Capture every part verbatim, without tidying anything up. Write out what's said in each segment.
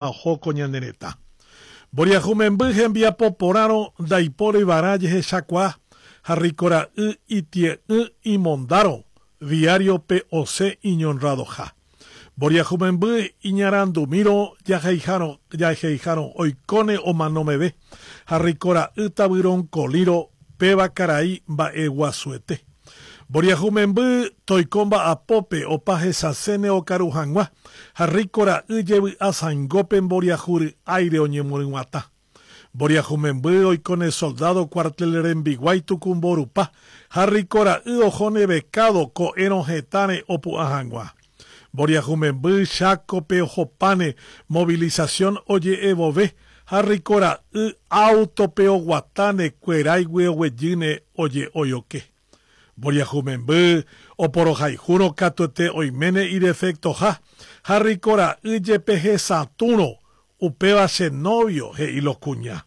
Oho ko ñane retã. Mboriahu memby hembiapo porãrõ ndaipórivarã jehechakuaa ha rikora'y itie'ỹ imondárõ diario-pe osẽ iñonrradoha. Mboriahu memby iñarandumírõ jaheihárõ oikóne omano meve ha rikora'y tavyronkolírõ péva karai mba'eguasuete. Mboriahu memby toiko mba'apópe opa hesasẽne okaru hag̃ua ha rikora'y jevy'asãingópe mboriahu ry'áire oñemoryg̃uatã. Mboriahu memby oikóne soldado cuartel rembiguái tukumborupa ha rikora'y ohóne becado ko'érõ hetãre opu'ã hag̃ua. Mboriahu memby Chákope ohopáne movilización oje'evove ha rikora'y autope oguatáne kueráigui oguejýne oje'oioke. Mboriahu memby oporohayhúrõ katuete oiméne idefectoha ha rikora'y jepe hesatũrõ upéva che novio he'i lo kuña.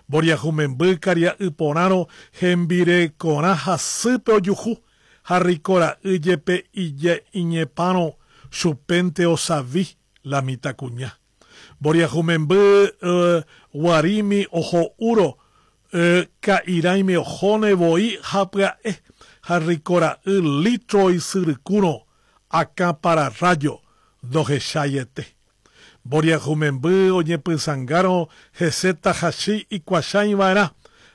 Mboriahu memby karia'y porãrõ hembirekorã hasýpe ojuhu ha rikora'y jepe iñepãrõ chupénte osavi la mitãkuña. Mboriahu memby guarími oho'úrõ ka'irãime ohóne voi ha pya'e ha rikora'y litro isyrykúrõ akã pararrájo ndohecháiete. Mboriahu memby oñepysãngárõ hese tahachi ikuachãiva'erã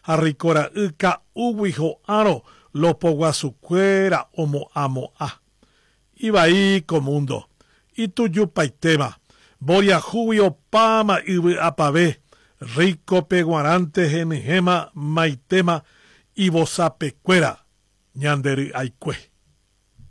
ha rikora'y ka'úgui ho'árõ lopoguasukuéra omo'ãmo'ã. Ivai ko mundo, itujupaitéma, mboriahúgui opáma yvy'apave, rico-pe g̃uarãnte henyhẽma maitéma ivosapekuéra ñande ry'aikue.